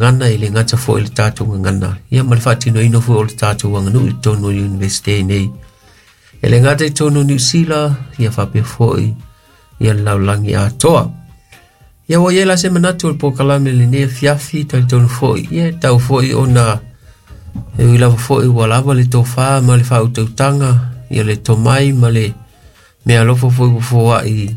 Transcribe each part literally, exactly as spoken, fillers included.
gagana e le gata foʻi le tatou gagana ia ma le faatinoina foi o le tatou aganuu i totonu o le Iunivesite nei e le gata i totonu o Niusila ia faapea foʻi ia le lalolagi atoa. Ia ua iai la se manatu o le polokalame lenei afiafi talitonu foʻi ia e tau foʻi ona e ui lava foʻi ua lava le tofā ma le faautautaga ia le tomai ma le mea alofa foʻi ua foaʻi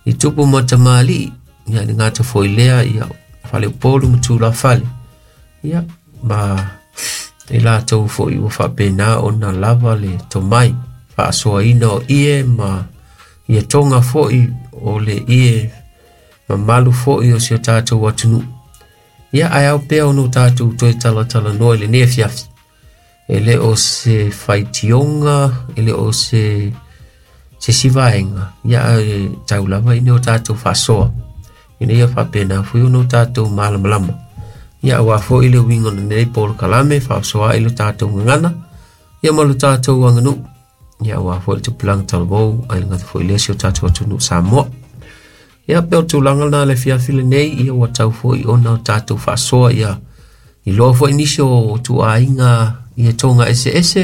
i tupu ma tamalii ia le gata foʻi lea ia faleupolu ma tulafale ia ma e latou foʻi ua faapena ona lava le tomai faasoaina o ie ma ia toga foʻi o le ie mamalu foʻi o si o tatou atunuu. Ia ae ao pea ona o tatou toe talatalanoa i lenei afiafi e le o se faitioga e le o se se isi vaega ia ae tau lava ina o tatou faasoa ina ia faapena foi ona o tatou malamalama ia auā foʻi le uiga o lenei polokalame faasoa ai lo tatou gagana ia ma lo tatou aganuu ia auā foʻi le tupulaga talavou ae le gata foʻi lea si o tatou atunuu Samoa. Ia pe o tulaga lena le afiafi lenei ia ua tau foʻi ona o tatou faasoa ia iloa foʻi nisi o tuuaiga ia toga eseese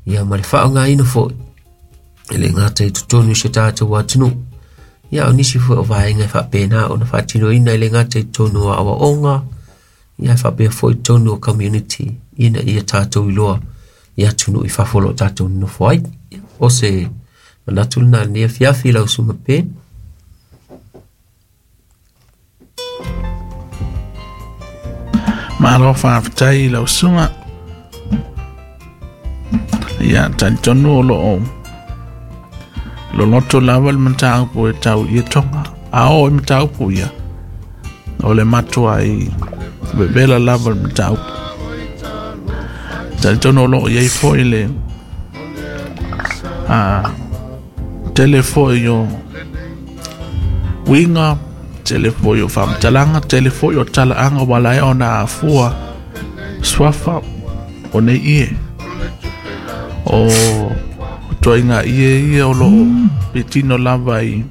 ia ma le faaaogaina foʻi e le gata i totonu i si o tatou atunuu ia o nisi foi o vaega e faapena ona faatinoina e le gata i totonu o aoaoga ia e faapea foi totonu o community ina ia tatou iloa i atunuu i fafo o loo tatou nonofo ai. O se manatu lena lenei afiafi lau susuga pe. Malo faafetai i lau susuga. Ia talitonu o loo loloto lava le mataupu e tau i etoga. A oo i mataupu ia o le matua i vevela lava le mataupu. Talitonu o loo iai foʻi le a tele foʻi o uiga, tele foʻi o faamatalaga, tele foʻi o talaaga ua laea ona afua suafa o nei ie o toaiga ie ia o loo pitino lava i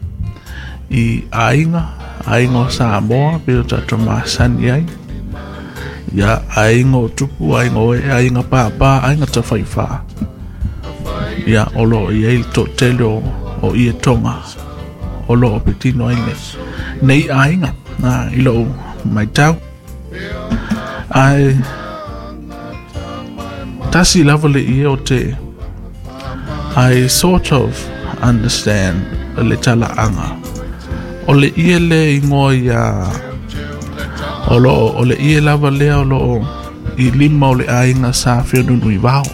i aiga aiga o Samoa pe o tatou masani ai ia aiga o tupu, aiga o ee, aiga pāpā, aiga tafaifā ia o loo iai le toatele o, o ie toga o loo pitino ai nei nei aiga na i lou maitau ae tasi lava le ie o te I sort of understand le talaaga o le ie le igoa ia o loo o le ie lava lea o loo i lima o le aiga sa feonunu i vao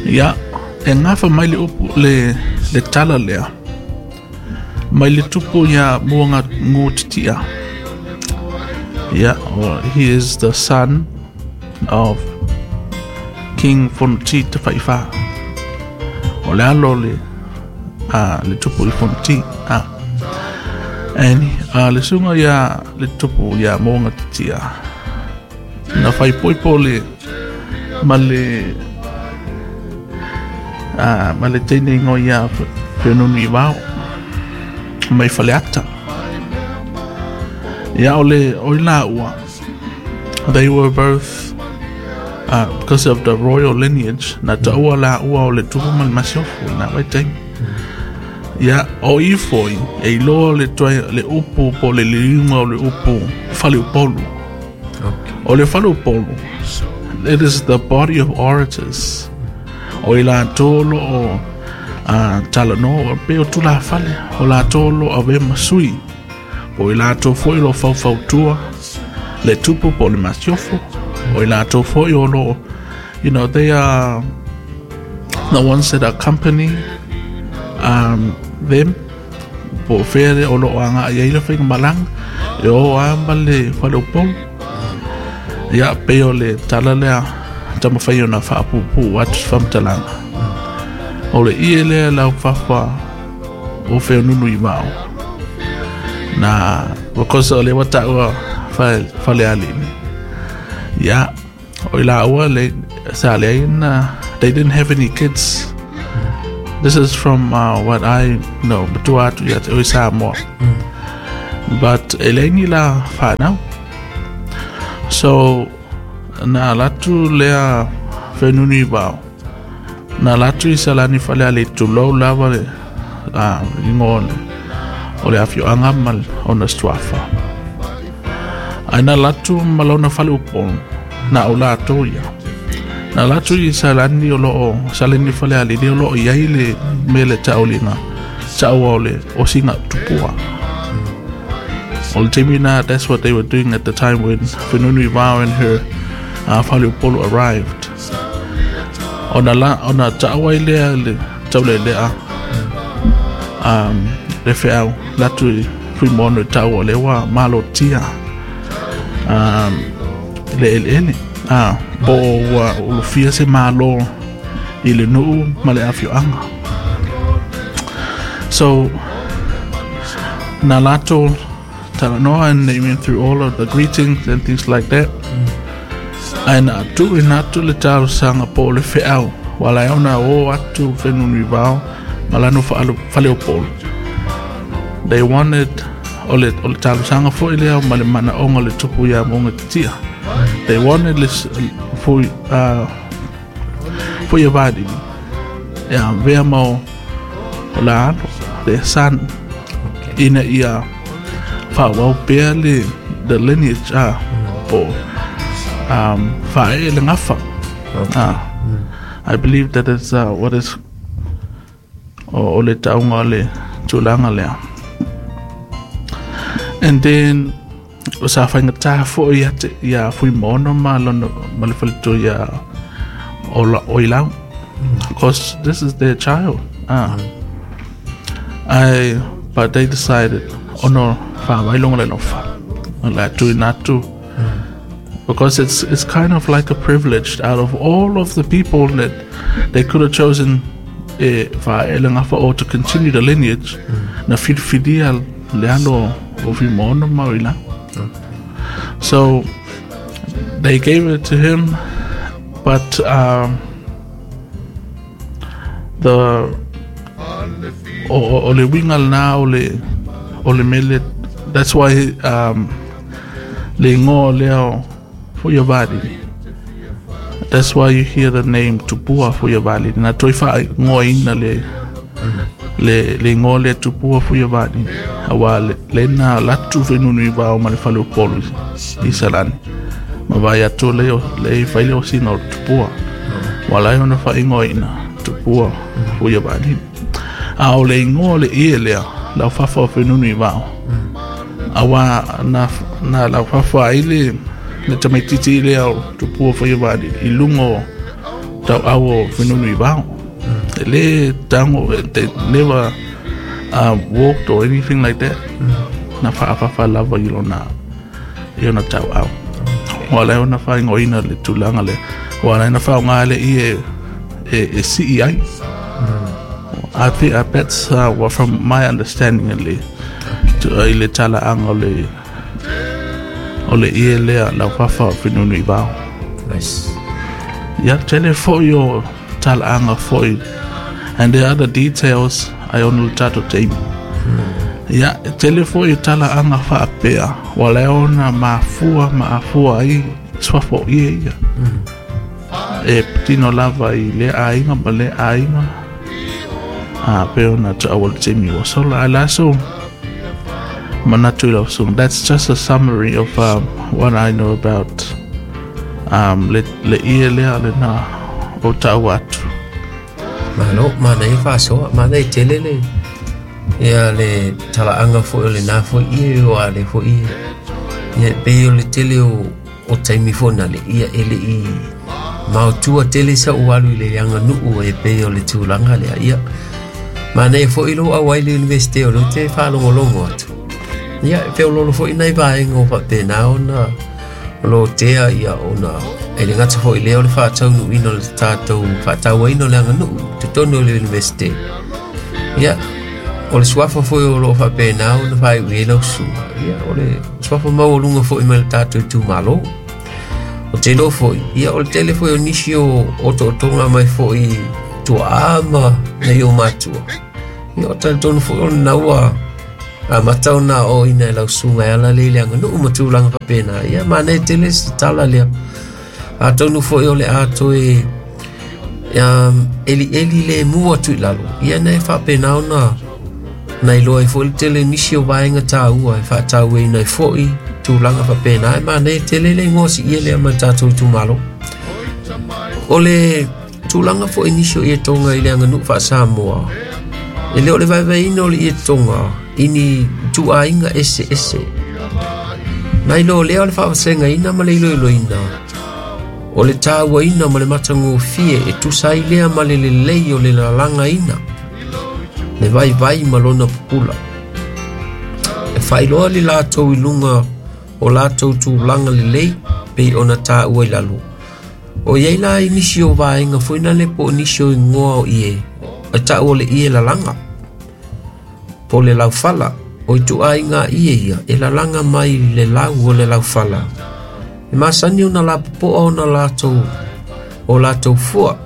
ia e gafa mai le upu le le tala lea mai le tupu ia muaga gutitia ia he is the son of King Fonoti Te Whaiwha. O le alo le a le tupu i Fonoti a and uh, le sunga ia le tupu ia moanga titia na whai poipo le ma le a ma le teine ingo ia whenunu i wao mai whaleata ia o le o i la ua they were both uh, because of the royal lineage na taua la ua o le tupu ma le masiofo na wai taimi ia o i foi e iloa le toa le upu po le liuga o le upu faleupolu. Okay. O le faleupolu, it is the body of orators o i latou o loo uh, talanoa pe o tulafale o latou o loo ave masui o i latou foi o loo faufautua le tupu po o le masiofo o i latou foi o loo you know they are the ones that accompany um, them po o fea o loo agaʻi ai le faigamalaga e o a ma le faleupolu ia pei o le tala lea taumafai ona faapupuu atu se faamatalaga o le ie lea laufafa o feonunu i vao na because o le ua taua falealili ia o i laua le sa leai na they didn't have any kids. This is from uh, what I know matua atu ia te oi Samoa. But e leai ni la whanau. So na latu lea whenuni wao. Na latu i salani whale ale tulou lava le uh, ingo o le afioanga ma ona suafa. Ai na latu ma lona fale upolu na o latou ia. Na latu i salani o loo salani fale ale o loo iai le mele tauliga taua o le osiga tupua. O le taimi na, that's what they were doing at the time when Fenunuivao and her uh, faleupolu arrived. Ona la ona taua i lea le taulelea um, le feau latu i Fuimaono i taua le ua malotia um, le eleele ah, po ua ulufia se malo i le nuu ma le afioaga. So na latou talanoa, and they went through all of the greetings and things like that. Ae na tuuina atu le talosaga po o le feau ua lae ona o atu Fenunuivao ma lana faleupolu. They wanted o le o le talosaga foi lea ma le manaoga o le tupu ia Muagatatia. They wanted le foi uh, foi Vailili ia avea ma o la alo, their son, ina ia faaauau pea le the lineage ah, po um, faaee le gafa. Ah, I believe that is uh, what is o, o le tauga o le tulaga lea. And then o sa faigata foi ia te ia Fuimaono ma lona ma le faletua ia o la o Ilau. Because this is their child. Ah. I but they decided ono faavailoga le lofa. O le tuuina atu. Because it's it's kind of like a privilege out of all of the people that they could have chosen e faaee le gafa or to continue the lineage, na filifilia le alo o Fuimaono ma o Ilau. So they gave it to him, but um, the o, o, o le uiga lena o le o le mele, that's why um, le igoa lea o Fuiavailili. That's why you hear the name Tupua Fuiavailili. Na toe faaigoaina le le le igoa lea Tupua Fuiavailili auā le lena latu Fenunuivao ma le faleupolu i Salani ma vaai atu le le fai le osina o le tupua ua ala ai ona faaigoaina Tupua Fuiavailili. A o le igoa o le ie lea laufafa o Fenunuivao auā na na laufafa ai le le tamaititi lea o Tupua Fuiavailili i luga o tauau o Fenunuivao. E le tago, they never uh, walked or anything like that. Na faafafa lava i lona i ona tauau. Ua ala ai ona faaigoaina le tulaga lea. Ua ala ai ona faaaoga le ie e, e sii ai. I think uh, that's uh, what from my understanding at least. I le talaaga o le o le ie lea laufafa o Fenunuivao. Nice. Ia tele foi o talaaga foi, and there are other details ai ona le tatou taimi. Ia tele foi o talaaga faapea ua ala ai ona mafua ma afua ai suafa o ie ia. E patino lava i lea aiga ma lea aiga a pe ona taua le taimi ua sola. Ae la so manatu i lau susuga. That's just a summary of um, what I know about um, le, le ie lea lena o taua atu. Malo, manaia faasoa, manaia tele le ia le talaaga foi o lena foi ie o a le foi ie. Ia e pei o le tele o o taimi foi na le ia e le'i maotua tele sa'u alu i le aganuu e pei o le tulaga lea. Ia manaia foi lou auai le Universite o lea ou te faalogologo atu. Ia e feoloolo foi nai vaega o faapena ona o lo tea ia ona e le gata foi lea o le faataunuuina o le tatou faatauaina o le aganuu i totonu o le Universite. Ia o le suafa foi o loo faapena ona faaiu i ai lau susuga. Ia o le suafa maualuga foi mai le tatou itumalo. O te iloa foi, ia o le tele foi o nisi o otootoga mai foi tuaa ma nai o matua. Ia o talitonu foi o lena ua A matau na o ina e lausunga e ala le le anga nuu matulanga papena. Ia mane tele si tala lea. A tonu fo o le ato e um, eli eli le mua tu lalo. Ia na e whapena ona na iloa e fo le tele nisi o vaenga tāua e whaatau e nai foi tūlanga whapena. E mane tele le ngosi ia lea ma tātou tūmalo. O le tūlanga fo i nisi o ia tonga i le anga nuu whaasamoa. E leo le vaivaina o le ia tonga ini tuainga ese ese. Nai lo lea o le whaawasenga ina ma le ilo ilo ina. O le tāua ina ma le matangofie e tusai lea ma le lelei o le lalanga ina. Le vai vai ma lona pupula. E whailoa le lātou i lunga o lātou tūlanga lelei pei ona tāua i lalo. O iei la i nisi o vaenga fuina le po nisi o ingoa o ie. E tāua le ie lalanga. Po le laufala. O i tuainga ie ia. E lalanga mai le lau o le laufala. E masani ona la popoa ona lātou o lātou fua.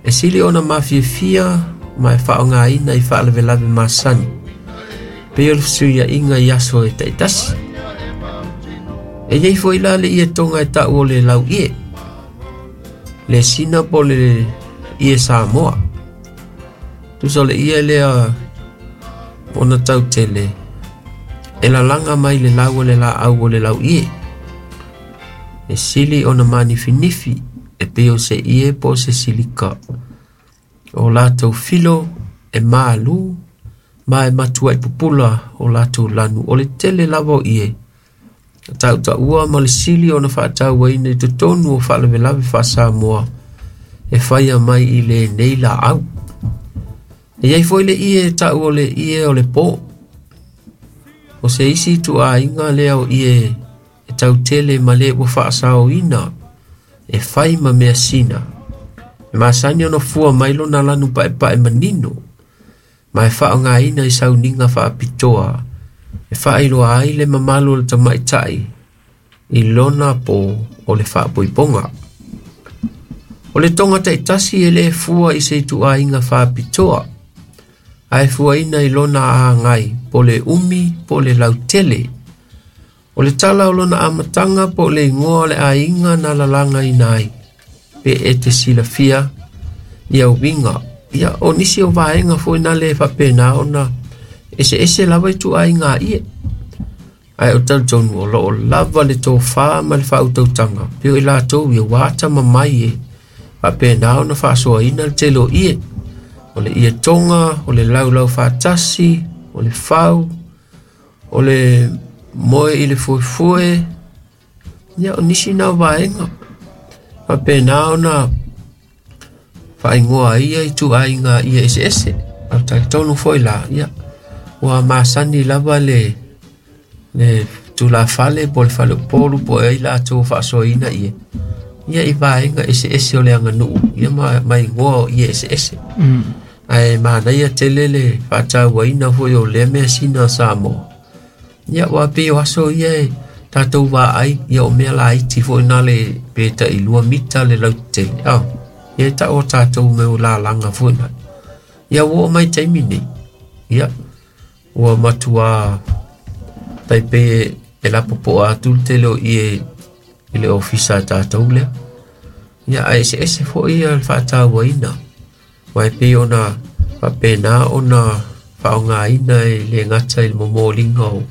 E sili ona mafiafia ma e whaonga ina i whaalavelave masani. Pe o le suia inga i aso e taitasi. E iei fo ila le ie tonga e tau o le lau ie. Le sina po le ie Samoa. Tusa le ie lea ona tau tele. E lalanga mai le lau o le la au o le lau ie. E sili ona manifinifi e peo se ie po se silika. O lātou filo e maalu ma e matua i pupula o lātou lanu. O le tele lava o ie. Tau taua ma le sili ona whaataua ina i totonu o whaalavelave whaasamoa e whaia mai i le nei la au. E iei foi le ie tau o le ie o le pō. O se isi tuainga lea o ie e tau tele ma le ua whaasao ina e whai ma mea sina. E masani ona fua mai lona lanu pae pae manino. Ma e whaonga ina i sauninga whaapitoa. E whaailoa ai le mamalu o le tamaitai i lona po o le whaapoiponga. O le tonga taitasi e le fua i se tuainga whaapitoa. Ae fua ina i lona aangai po le umi po le lautele. O le tala o lona amatanga po le ingoa le ainga na lalanga ina ai. Pe e te silafia ia uinga. Ia o nisi o vaenga fo ina le whapena ona ese ese lava i tuainga ie. Ai o tau tonu o loo lava le tō whā ma le whautautanga. Peo i lātou ia wāta mamai e. Whapena ona whaasoa ina le telo ie. O le ie tonga, o le laulau whaatasi, o le whau, o le moe i le fuefue. Ia o nisi nā vaenga. Whapena ona whaingoa ia i tuainga ia ese ese. Au talitonu foi la, ia. Ua masani lava le le tulafale po le fale polu po e ila atu whaasoina ia. Ia i vaenga ese ese o le anga nuu. Ia ma, ma ingoa o ia ese ese. Mm. Ae mana ia tele le whaataua ina foi o le mea sina Samoa. Ia wā pe o aso ia e tātou wā ai ia o mea la iti foi nā le peta i lua mita le lautele. Oh, ia ta o tātou me o la langa foi nā. Ia wō mai taimi nei. Ia ua matua taipe e la popoa atu le tele o ie i le ofisa tātou lea. Ia ae ese ese foi ia le whaataua ina. Wai pe ona whapena ona whaonga ina e le ngata i le momolinga o,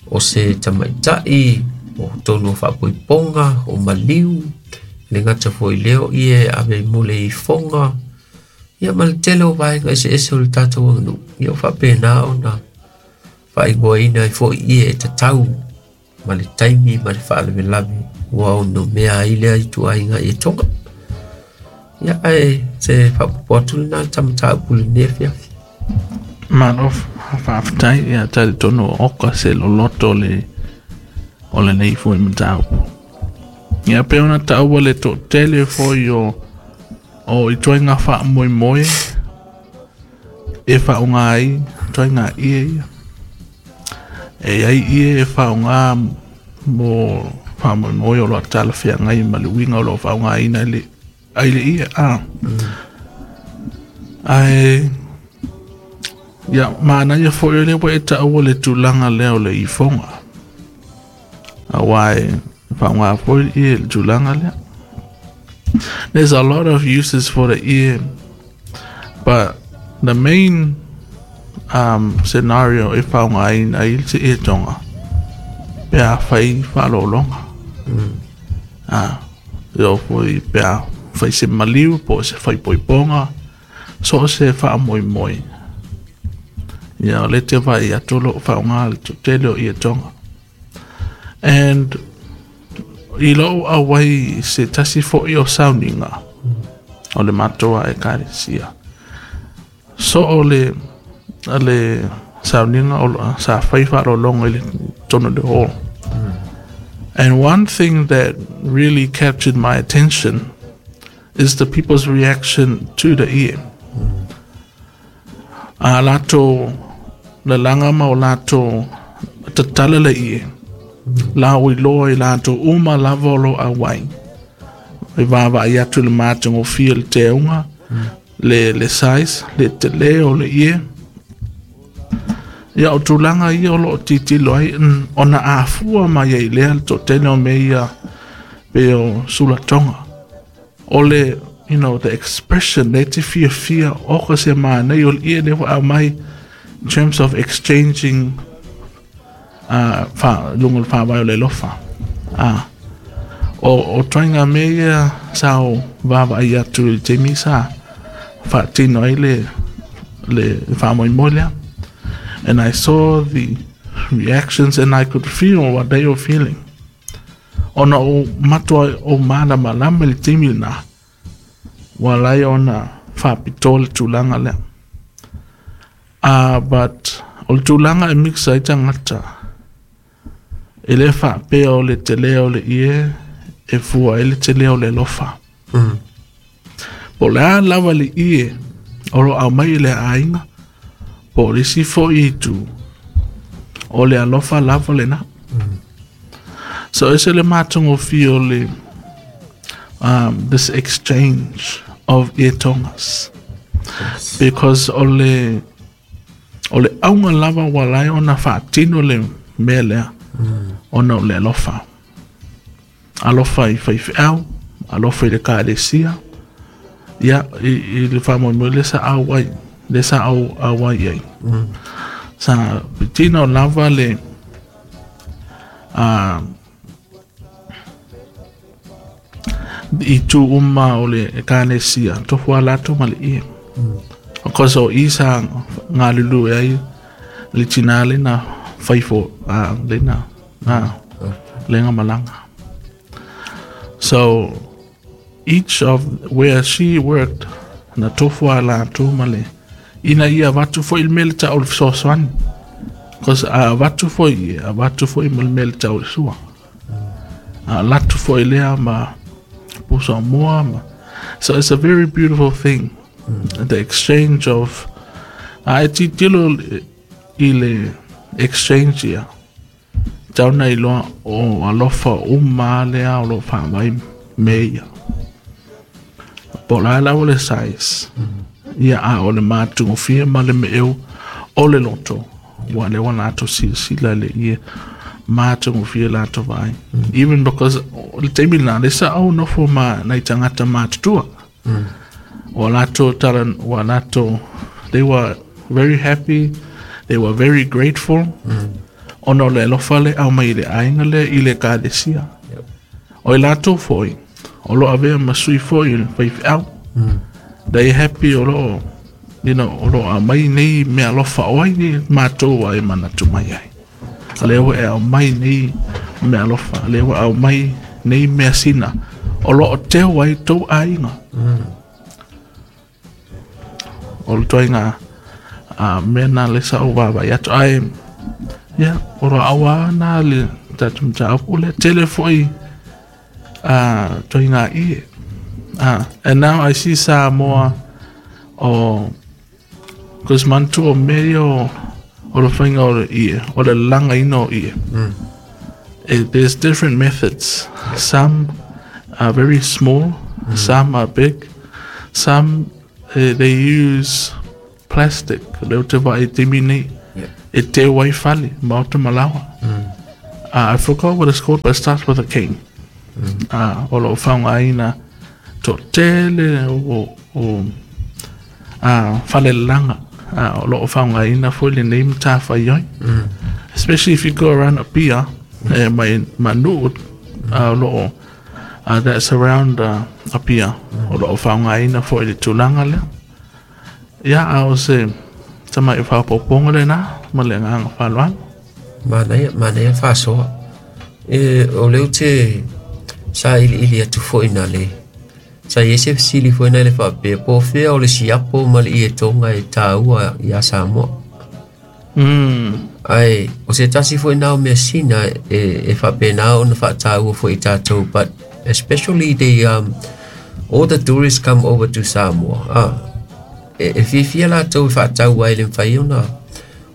o se tamaitai, o tonu o whaapoiponga, o maliu, le ngata foi leo ie ave mole i fonga. Ia ma le tele o vaenga ese ese o le tātou anganu. Ia o whapena ona whaingoa ina i foi ie e tatau ma le taimi ma le whaalavelave ua ono mea ai lea i tuainga i e tonga. Ia ae se whaapopo atu le nā tamatau pule nea fiafi. Malo whaaftai ia tali tonu oka se loloto le o le nei foi mataupu. Ia pe ona taua le to tele foi o o i tuainga whaamoemoe e whaonga ai tuainga ie ia. E ai ie e whaonga mo whaamoemoe o loa tala whiangai ma le uinga o loa whaonga ina le ai le ia a. Mm. Ai Ia manaia foʻi o lea ua e taʻua le tulaga lea o le ifoga auā e faaaogā foi le ie i le tulaga lea. There's a lot of uses for the ie, but the main um, scenario e faaaogāina ai le ie toga pe a fai faalologa. Mm. Ah, e oo foi pe a fai se maliu po o se faipoipoga so o se faamoemoe. Ia o le te vaai atu o loo faaaogā le tele o ie toga. And i lou auai se tasi foʻi o sauniga o le matou a ekalesia so o le le sauniga o sa fai faalologa i le tonu le hall. And one thing that really captured my attention is the people's reaction to the ie. A latou lalaga ma o latou tatala le ie. La o iloa i latou uma lava o lo auai. E vaavaai atu le matagofie le teuga, le, le size, le tele o le ie. Ia o tulaga ia o loo tilotilo ai ona afua mai ai lea le toatele o mea ia pe o sulatoga. O le, you know, the expression le te fiafia oka se manaia o le ie lea ua aumai in terms of exchanging uh, fa, luga o le faavae o le alofa. Ah, o, o ituaiga mea ia sa o vaavaai atu i le taimi sa faatino ai le, le faamoemoe lea. And I saw the reactions and I could feel what they were feeling. Ona o matua o malamalama le taimi lena, ua lai ona faapitoa le tulaga lea. Uh, but o le tulaga e mixa ai tagata, e le faapea o le tele o le ie e fua ai le tele o le alofa. Mm. Po o le a lava le ie o lo aumai i le aiga, po o le isi foʻi itu, o le alofa lava lena. Mm. So ese le matagofie o le um, this exchange of ietogas. Yes. Because o le o le auga lava ua lai ona faatino le mea lea mm. ona o le alofa. Alofa i faifeau, alofa i le ekalesia, ia i, i le faamoemoe le sa auai, le sa au auai ai. Mm. Sa pitino lava le uh, i tu uma o le ekalesia, tofu a latou ma le ie. Mm. Because o i sa galulue ai le tinā lena faifo uh, lena uh, lega malaga. So each of where she worked na tofu a latou ma le ina ia avatu foʻi le mea le tau o le fesoasoani. Because a avatu foʻi ia, avatu foʻi ma le mea le tau o le sua. A latu foʻi lea ma pusa moa ma. So it's a very beautiful thing. Mm. The exchange of a e tilotilo i le exchange ia. Tau na iloa o alofa uma lea o loo faavai me ia. Po o le a lava le size. Mm. Ia a o le matagofie ma le meeu o le loto. Ua lea ua latou silasila le ie matagofie latou vaai. Mm. Even because o le taimi lena le sa au nofo ma nai tagata matutua. Mm. Ua latou tala ua latou they were very happy, they were very grateful. Mm. Ona o le alofa le aumai i le aiga lea i le ekalesia. Yep. O i latou foʻi o loo avea ma sui foʻi i le faifeau. Mm. They happy o loo you know, o loo aumai nei mea alofa o ai nei matou ai manatu mai ai. Lea ua e aumai nei mea alofa, lea ua aumai nei mea sina o loo teu ai tou aiga. Mm. O le ituaiga a mea na le sa ou vaavaai atu ae ia o lo auā na le tatou mataupu lea tele foʻi a ituaiga ie. Ah, and now I see Samoa o cause manatua o mea ia o o le faiga o le ie, o le lalagaina o ie. Mm. It, there's different methods. Some are very small, mm. some are big, some uh, they use plastic lea ou te vaai i taimi nei e teu ai fale maota ma laoa. Uh, I forgot what it's called, but it starts with a K. Uh, o lo o faaaogaina toatele o, o uh, falelalaga uh, o lo o faaaogaina foi lenei matafaioi. Especially if you go around Apia, eh, mai ma nuu uh, o lo o uh, that surround uh, Apia, o lo o faaaogaina foi le tulaga lea. Ia, a o se tama'i faaopoopoga lenā ma le agaga faaaloalo. Manaia, manaia le faasoa. E, o lea ou te sailiili atu foi na le. Sa i ai se fesili foi na le faapea, po o fea o le siapo ma le ietoga e taua iā Samoa. Mm. Ae, o se tasi foi na o measina e, e faapena ona faataua foi i tatou, but especially the, um, all the tourists come over to Samoa. Ah, e, e fiafia latou e faatau ai le mafai ona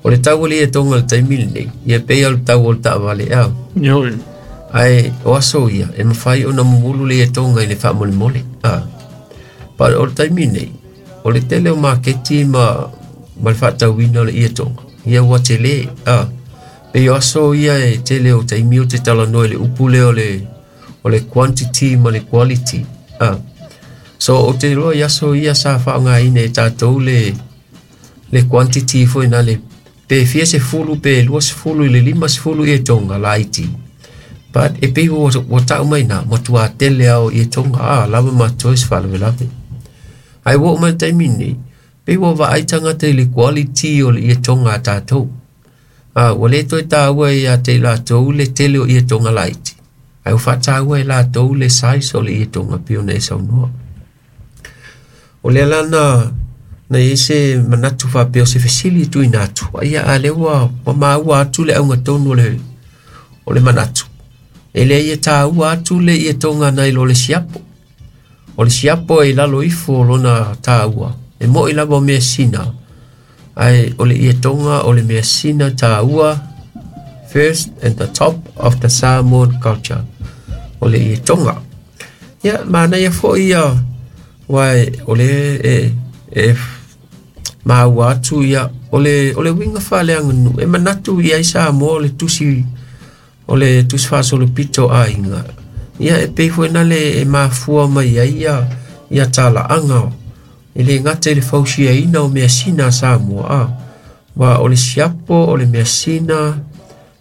o le tau o le ietoga o le taimi lenei, ia pei o le tau o le taavale a. Ioe. Ae o aso ia, e mafai ona mumulu le ietoga i le faamolemole. Ah. But o le taimi nei, o le tele o maketi ma, ma le faatauina o le ietoga, ia ua tele. Ah. Pei o aso ia e tele o taimi o te talanoa i le upu lea o le, o le quantity ma le quality. Ah. So o te iloa i aso ia sa faaaogaina e tatou le, le quantity foi na le pe fia sefulu pe lua sefulu i le lima sefulu ietoga laiti. But e pei ua, ua tau mai na, matua tele ao ietoga, a lava ma toe se faalavelave. Ae ua oo mai le taimi nei, pei ua vaai tagata i le quality o le ietoga a tatou. A, ua le toe taua ia te i latou le tele o ietoga laiti. Ae ua faataua e latou le size o le ietoga pei ona e saunoa. O lea la na, na i ai se manatu faapea o se fesili e tuuina atu. Ia a lea ua, ua maua atu le auga tonu o le, o le manatu. E leai e taua atu le ietoga nai lo le siapo. O le siapo e i lalo ifo o lona taua. E mo'i lava o measina. Ae o le ietoga o le measina taua first and the top of the Samoan culture. O le ietoga. Ia, manaia foi ia, aua o le e, e maua atu ia, o le, o le uiga faaleaganuu, e manatu i ai Samoa o le tusi, o le tusi faasolopito aiga. Ia, e pei foi na le e mafua mai ai ia, ia talaaga, e le gata i le fausiaina o measina a Samoa. A, wa o le siapo, o le measina,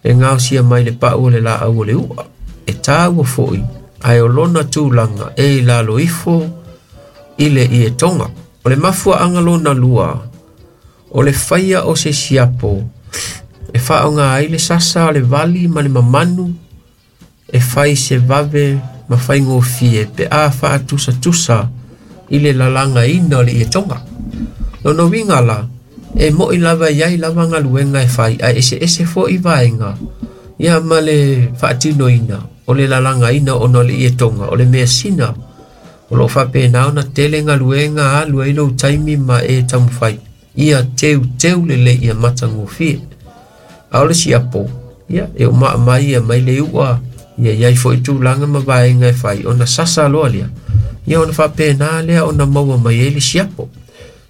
e gaosia mai le pau o le laau o le ua. E taua foi, ae o lona tulaga e i lalo ifo i le ietoga. O le mafuaaga lona lua, o le faia o se siapo, e faaaoga ai le sasa o le vali ma le mamanu, e fai se vave ma faigofie pe a faatusatusa i le lalagaina o le ietoga. Lona uiga la, e mo'i lava i ai lava galuega e fai, ae eseese foi vaega, ia ma le faatinoina o le lalagaina ona o le ietoga, o le measina, o loo faapena ona tele galuega alu ai lou taimi ma e taumafai, ia teuteu lelei ia matagofie. A o le siapo, ia, e umaamai ia mai le ua, ia iai foi tulaga ma vaega e fai, ona sasa loa lea, ia ona faapena lea ona maua mai ai le siapo.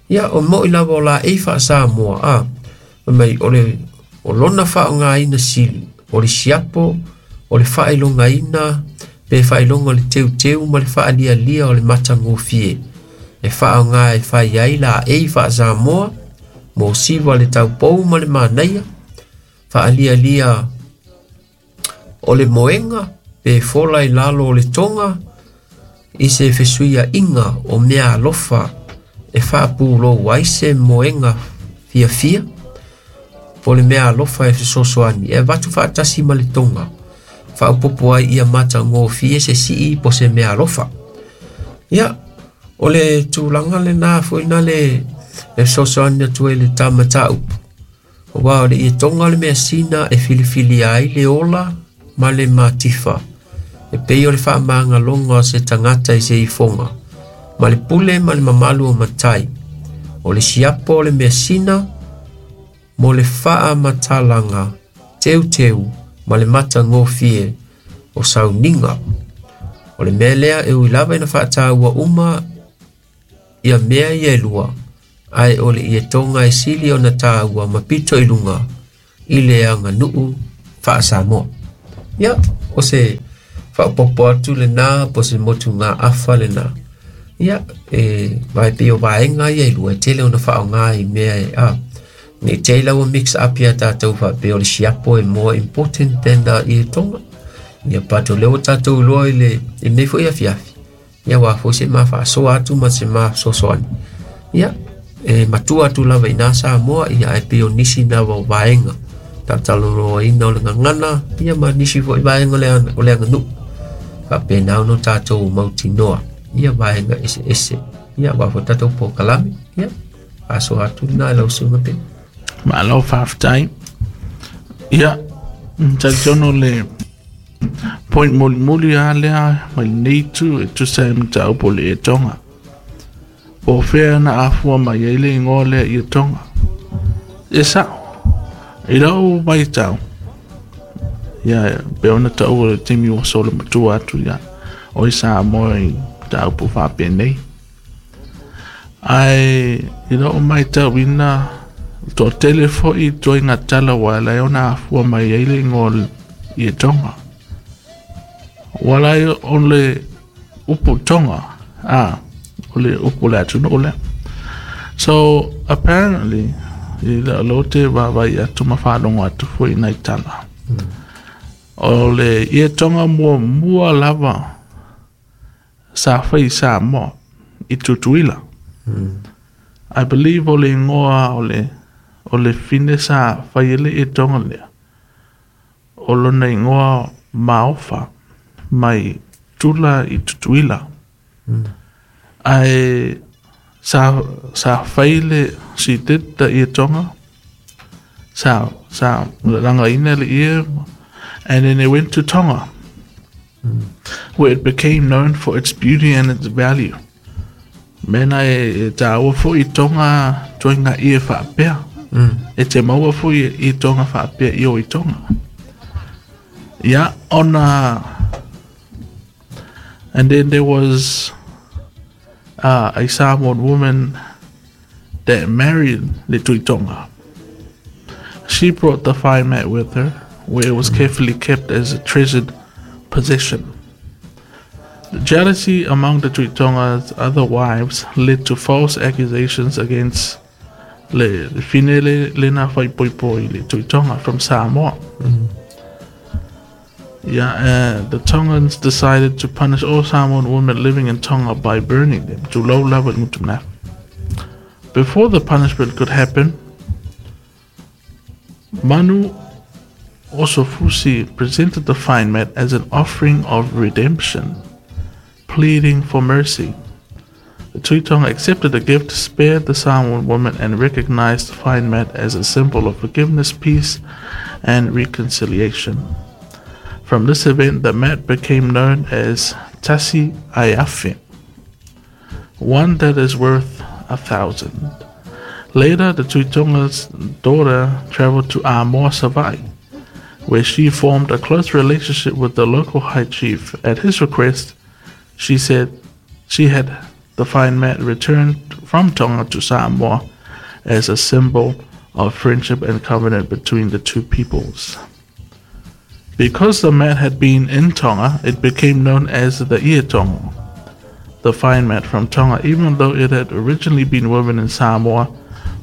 Ia, o mo'i lava o laei faa-Samoa, a, mai o le, o lona faaaogaina sili, o le siapo, o le faailogaina, pe faailoga o le teuteu ma le faalialia o le matagofie. E faaaoga e fai ai laei faa-Samoa, mo siva le taupou ma le manaia, faalialia o le moega, pe fola i lalo o le toga, i se fesuiaiga o mea alofa, e faapulou ai se moega fiafia, po o le mea alofa e fesoasoani, e avatu faatasi ma le toga, faaopoopo ai ia matagofie se sii po se mea alofa. Ia, o le tulaga lenā foi na le e fesoasoani atu ai le tamataupu. Aua o le ietoga o le measina e filifilia ai le ola ma le matifa. E pei o le faamagaloga o se tagata i se ifoga, ma le pule ma le mamalu o matai. O le siapo o le measina mo le faamatalaga teuteu ma le matagofie o sauniga. O le mea lea e ui lava ina faataua uma ia mea ia e lua, Ae o le ietoga e sili ona tāua ma pito i luga i le aganuu faa-Samoa. Ia, o se faaopoopo atu lenā po o se motugaafa lenā. Ia, e vai pei o vaega ia e lua e tele ona faaaoga i mea e a. Ne i te i la ua mix up ia tātou faapea o le siapo e more important than the ietoga. Ia, but o lea ua tātou iloa i le i lenei foi afiafi. Ia, ua foi se ma faasoa atu ma se ma fesoasoani. Ia, e matua atu lava i nā Samoa, ia ae pei o nisi na o vaega talatalanoaina o le gagana, ia ma nisi foi vaega o le o le aganuu. Faapena ona tātou mautinoa ia vaega eseese. Ia, aua foi tātou polokalame. Ia, faasoa atu lena i lau susuga pe. Malo faafetai. Ia, talitonu le point mulimuli lava lea mai lenei itu e tusa ai ma mataupu o le ietoga. Po o fea na afua mai ai le igoa lea ietoga. E sa'o, i la'u vaitau, ia pe ona ta'ua le taimi ua solo matua atu ia o i Samoa i mataupu faapenei. Ae i la'u matauina toatele fo'i ituaiga tala ua ala ai ona afua mai ai le igoa ietoga. Ua ala ai o le upu Tonga, a, o le upu o le atunuu lea. So, apparently, i la'u lou te vaavaai atu ma faalogo atu foi i nai tala. O le ietoga muamua lava sa fai i Samoa i Tutuila. I believe o le igoa o le o le fine sa fai ai le ietoga lea, o lona igoa Maofa mai Tula i Tutuila. Ae sa sa fai le she did the ietoga sa sa lagaina le ie and then it went to Tonga where it became known for its beauty and its value. Mena e, e tāua foi i Tonga ituaiga ie faapea. E te maua foi i Tonga faapea i o i Tonga. Ia, ona and then there was uh, a Samoan woman that married le Tui Tonga. She brought the fine mat with her, where it was carefully kept as a treasured possession. The jealousy among the Tui Tonga's other wives led to false accusations against le fine le lena faipoipo i le Tui Tonga from Samoa. Yeah, uh, the Tongans decided to punish all Samoan women living in Tonga by burning them to low level mutumna. Before the punishment could happen, Manu Osofusi presented the fine mat as an offering of redemption, pleading for mercy. The Tui Tonga accepted the gift, spared the Samoan woman, and recognized the fine mat as a symbol of forgiveness, peace, and reconciliation. From this event, the mat became known as Tasi Aiafe, one that is worth a thousand. Later, the Tui Tonga's daughter traveled to Amoa, Savai'i, where she formed a close relationship with the local high chief. At his request, she said she had the fine mat returned from Tonga to Samoa as a symbol of friendship and covenant between the two peoples. Because the mat had been in Tonga, it became known as the Ietonga, the fine mat from Tonga, even though it had originally been woven in Samoa.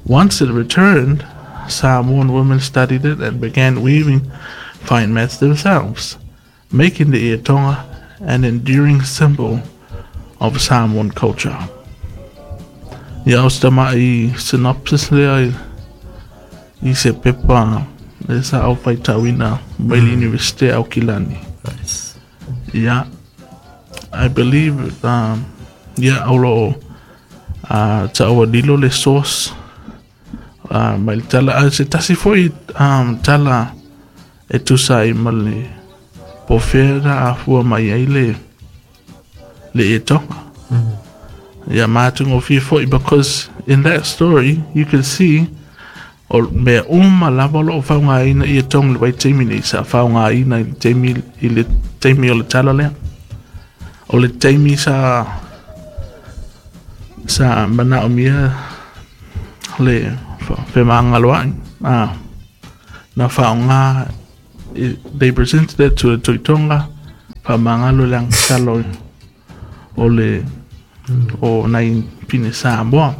Once it returned, Samoan women studied it and began weaving fine mats themselves, making the Ietonga an enduring symbol of Samoan culture. Ia o se tama'i synopsis lea i, i se pepa le sa au faitauina mai le Universite Aukilani. Nice. Ia, I believe um, ia o loo uh, ta'ua lilo le source uh, mai le tala a se tasi foi um, tala e tusa ai ma le po o fea na afua mai ai le le ietoga. Ia matagofie foi because in that story you can see o mea uma lava o loo faaaogaina ietoga i le vaitaimi nei sa faaaogaina i le taimi i le taimi o le tala lea. O le taimi sa sa manaomia Le femagaloaʻi a na faaaogā. They presented it to the Tuitonga, faamagalo le agatalo o le o nai pine Samoa.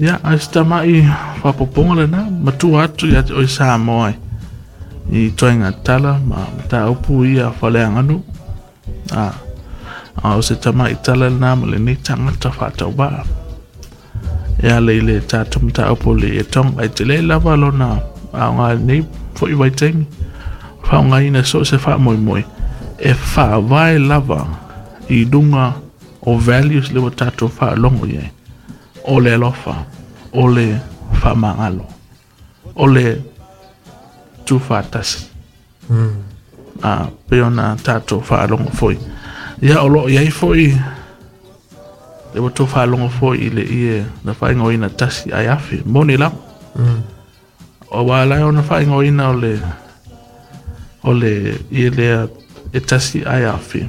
Ia, ae se tamaʻi faapopoga lenā matua atu ia te oe Samoa i toaiga tala ma mataupu ia faleaganuu a a o se tamaʻi tala lenā ma lenei tagata faatauvaa e ala i le tatou mataupu o le ietoga ai telē lava lona aoga lenei foʻi vaitaimi faaaogaina so o se faamoemoe e faavae lava i luga o values le ua tatou faalogo i ai o le alofa, o le faamagalo, o le tuufaatasi mm. A pei ona tatou faalogo foi ia o loo iai foi le ua tou faalogo foi i le ie na faaigoaina tasi ai afe moni lava mm. Auā lae ona faaigoaina o le o le ie lea e tasi ai afe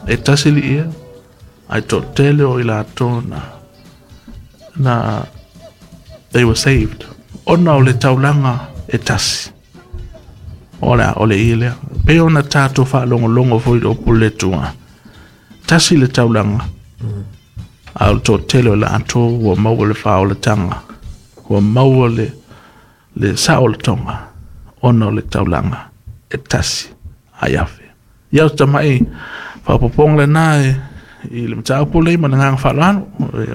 e tasi le ie ai toʻatele o i latou na na they were saved ona o le taulaga e tasi o le o le ie lea pei ona tatou faalogologo foi i le upu le Atua tasi le taulaga mm. A o le toatele o latou ua maua le faaolataga ua maua le le saolatoga ona o le taulaga e tasi ai afe. Ia o tamaʻi faapopoga lenā e i le mataupu lei ma le agaga faaaloalo.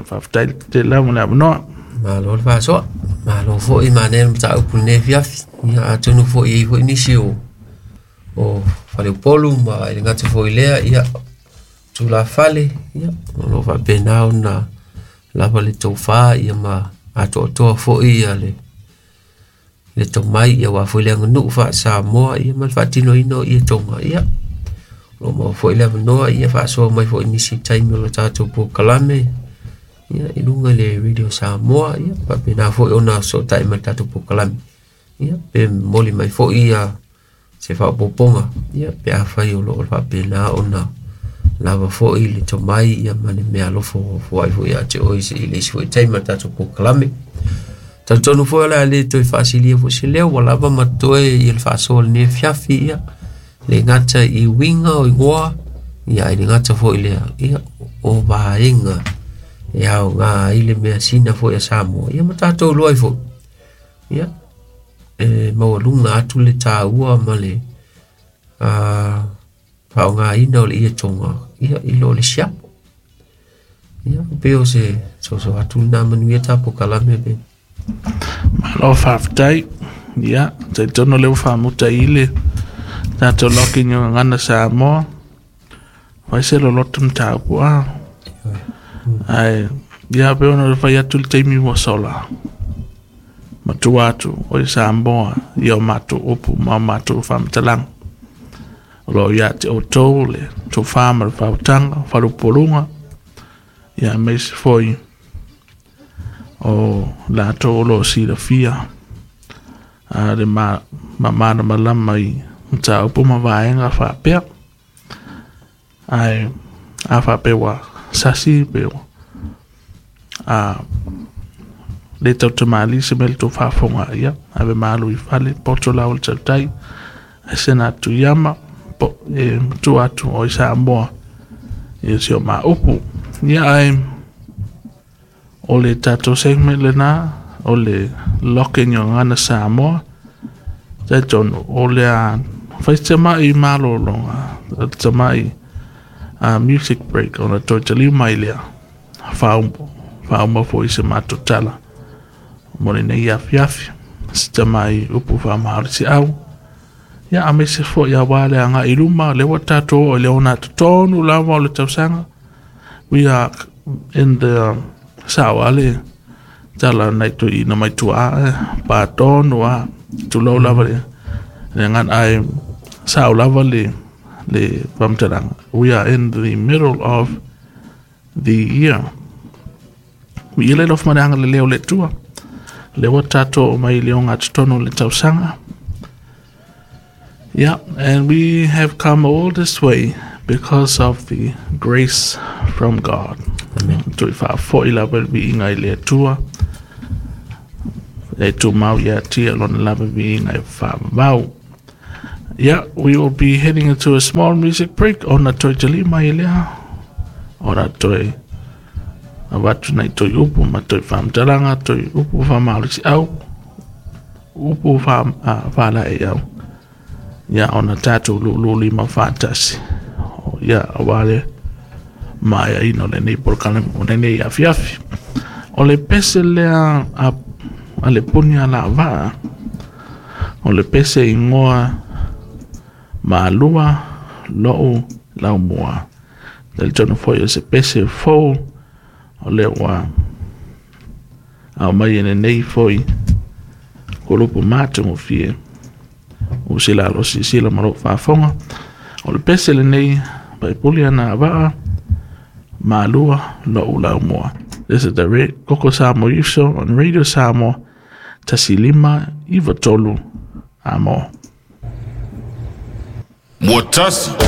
Faafetai tele lava mo le avanoa. Malo le faasoa, malo foi manaia le mataupu lenei afiafi. Ia atonu foi i ai foi nisi o o Faleupolu ma e le gata foi lea ia tulafale ia o loo faapena ona lava le tofā ia ma atoatoa foi ia le le tomai ia aua foi le aganuu faa-Samoa ia ma le faatinoina o ia toga ia o loo maua foi le avanoa ia faasoa mai foi nisi taimi o le tatou polokalame ia i luga i le Radio Samoa ia faapena foi ona fesootai mai le tatou polokalame ia pe momoli mai foi ia se faaopoopoga ia pe afai o loo faapena ona lava foi le tomai ia ma le mea alofa foai foi ia te oe i le isi foi taimi o le tatou polokalame. Talitonu foi o le a le toe faasilia foi se leo ua lava ma toe ia le faasoa lenei afiafi ia le gata i uiga o igoa ia ai le gata foi lea ia o vaega e aoga ai le measina foi a Samoa ia ma tatou iloa ai foi ia e maualuga atu le taua ma le a faaaogaina o le ietoga ia i lo le siapo ia pei o se soso atu lena manuia tapolokalame pe. Malo faafetai. Ia, talitonu lea ua faamuta i le tatou loki i gagana Samoa. Fai se loloto mataupu a. Ae, ia pei ona fai atu le taimi ua sola. Matua atu o i Samoa i o matou upu ma o matou faamatalaga. O loo ia te outou le tofā ma le faautaga, faleupoluga, ia aemaise foi o latou o loo silafia a le ma mamalamalama i mataupu ma vaega faapea. Ae a faapea ua sasi pe ua a le tautamali se mea le tou faafofoga ia ave malu i fale poto lau le tautai ae sena atu iama po e matua atu o i Samoa ia si o maupu. Ia ae o le tatou segment lenā o le Lock in Your Gagana Samoa. Talitonu o le a fai se tamaʻi malologa tamaʻi a music break ona toe taliu mai lea faauma faauma foi se matou tala mo lenei afiafi se tamaʻi upu faamaolisiʻau ia aemaise foi auā le agaʻi i luma lea ua tatou oo i le ogatotonu lava o le tausaga. We are in the sao a le tala nai toeaiina mai tuaa e patonu a tulou lava le le agana ae sao lava le le faamatalaga. We are in the middle of the year. Viia le alofa ma le agalelei o le Atua lea ua tatou oo mai i le ogatotonu o le tausaga. Yeah, and we have come all this way because of the grace from God. Amen. Toe faafoi lava le viiga i le Atua. E tumau ia tia lona lava viiga e faavavau. Yeah, we will be heading into a small music break ona toe talima i lea ona toe avatu nei toe upu ma toe faamatalaga toe upu faamalosi au upu faalaei au ia ona tatou lūlū lima faatasi ia auā le maeaina o lenei polokalame o lenei afiafi. O le pese lea a, a le puni alavaa o le pese igoa malua lo'u laumua. Talitonu foi o se pese fou o lea ua aumai e lenei foi kolopo matagofie o se lalo silasila ma lou faafoga. O le pese lenei paipuli ana avaa malua lo'u laumua. This is the Koko Samoa Youth Show on Radio Samoa tasi lima iva tolu amo. Muatasi.